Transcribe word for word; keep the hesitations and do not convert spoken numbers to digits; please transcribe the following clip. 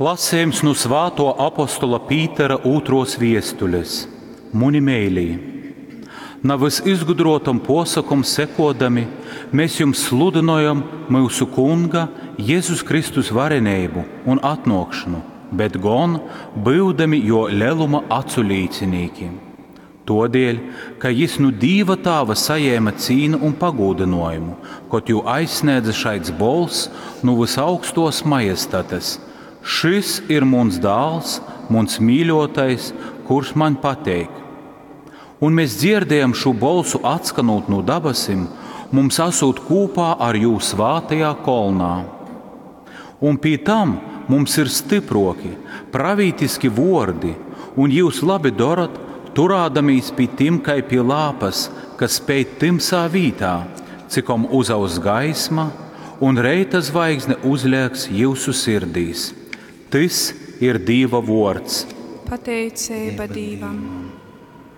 Lasījums nu Svāto apostola Pītera ūtros viestules. Muni meilī, navys izgudrotom posakom sekodami, mēs jums sludinojam mūsu Kunga Jēzus Kristus varenību un atnākšanu, bet gon būdami jo leluma acu līcinīki. Todēļ, ka jis nu Dīva tāva sajēma cīnu un pagūdinājumu, kot jū aizsniedza šaids bols nu visaugstos majestates. Šis ir muns dāls, muns mīļotais, kurš man pateik. Un mēs dzirdējam šo bolsu atskanot no dabasim, mums esot kopā ar jū svātajā kolnā. Un pie tam mums ir stiproki, pravītiski vordi, un jūs labi darat, turādamīs pie tim kai pie lāpas, kas spēj timsā vītā, cikom uzaus gaisma, un reita zvaigzne uzlieks jūsu sirdīs. Tys ir Dīva vords. Pateiceiba Dīvam.